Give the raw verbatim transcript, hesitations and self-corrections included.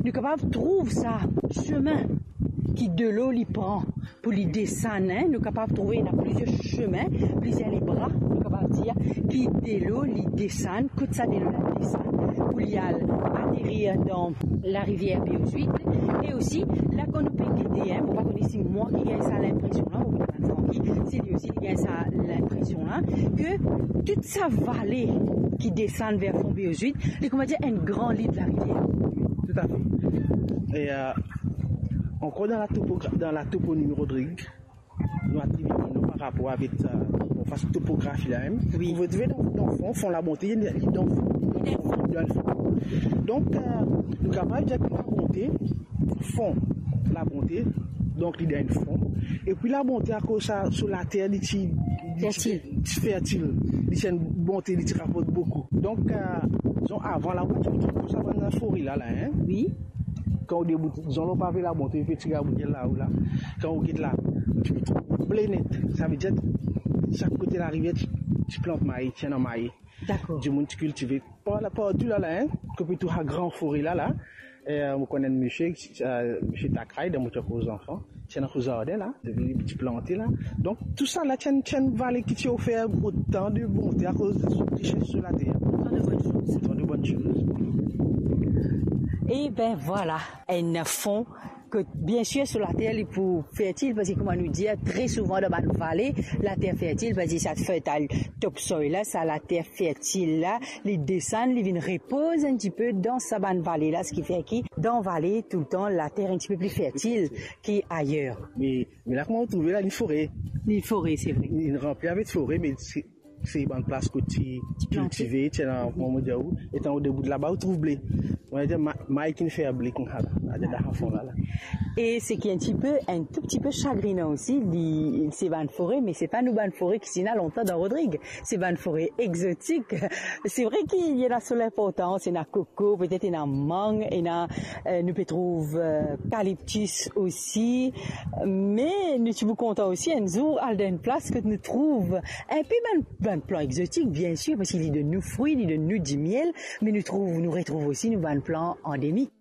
nou kapav trouv sa sime ki delo li pran pou li desann, hein. Nou kapav trouve ena plizier sime, plizier lebra, nou kapav dir, ki delo li desann, kot sa delo la desann, pou li al aterir dan larivier Béhozuit. E osi, la kan nou pe gete, hein, mo pa kone si mwa ki gagn sa linpresion la, oubien Francky, si li osi li gagn sa linpresion la, ke tout sa vale ki desann ver fon Béhozuit, li, kouma dir, enn gran li de larivier. Tout à fait. E, euh, ankor dan la topogra-, dan la toponimi Rodrig, nou atribie nou par rapor avek, euh, bon, fas topografi la mem. Wi. Ou retrouve dan, dan fon, fon Labonte, li, li dan fon. Li dan fon. Donk, euh, nou kapav dir ki Labonte, fon Labonte, donk li dan fon. Epi Labonte, akoz sa, so later, li ti, li ti, fertil, ti fertil. Li ti enn bonte, li ti raport boukou. Donk, euh, dizon, avan la, ou ti trouv sa bann fore la, la, hein? Wi. Kan ou debout, dizon, lor pave Labonte, pe ti gagn bout la, ou la. Kan ou get la, ou ti trouv ble net. Savedir, sak kote larivier, ti, ti plant maye, ti ena maye. Dakor. Dimoun ti kiltive. Par la, partou la, la, hein, kot pe trouv sa gran fore la, la. E, euh, mo konn enn misie, euh, misie Takray, dan mo ti ankor zanfan. Ti ena so zardin la, li ti plante la. Donk, tou sa la, ti enn, ti enn vale ki ti ofer otan de bonte akoz de so rises sir later. Otan de bonn soz. Otan de bonn soz. E ben, vwala, enn fon kot, biensir, so later li pou fertil, parski, kouma nou dir, tre souvan dan bann vale, later fertil, parski sa fertile topsoil la, sa later fertil la, li desann, li vinn repoz enn tipe dan sa bann vale la, seki fer ki dan vale, toultan, later enn tipe pli fertil ki ayer. Me, me la, kouma ou trouve la, li fore. Li fore, se vre. Li ranpli avek fore, me se, se bann plas kot ti kiltive, ti ena, kouma mo dir ou, etan ou debout laba, ou trouv ble. Mo dir, ma-, maye ki'nn fer ble koumsa la, la, dan fon la, la. E seki enn tipe, enn tou tipe sagrinan osi, li, se bann fore, me se pa nou bann fore ki ti ena lontan dan Rodrig. Se bann fore egzotik. Se vre ki ena so linportans, ena koko, petet ena mang, ena, euh, nou pe trouv, euh, kaliptis osi. Me nou ti pou kontan osi enn zour al dan enn plas kot nou trouv enn pe bann, bann plan egzotik, biensir, parski li donn nou fri, li donn nou dimiel, me nou trouv, nou retrouv osi nou bann plan andemik.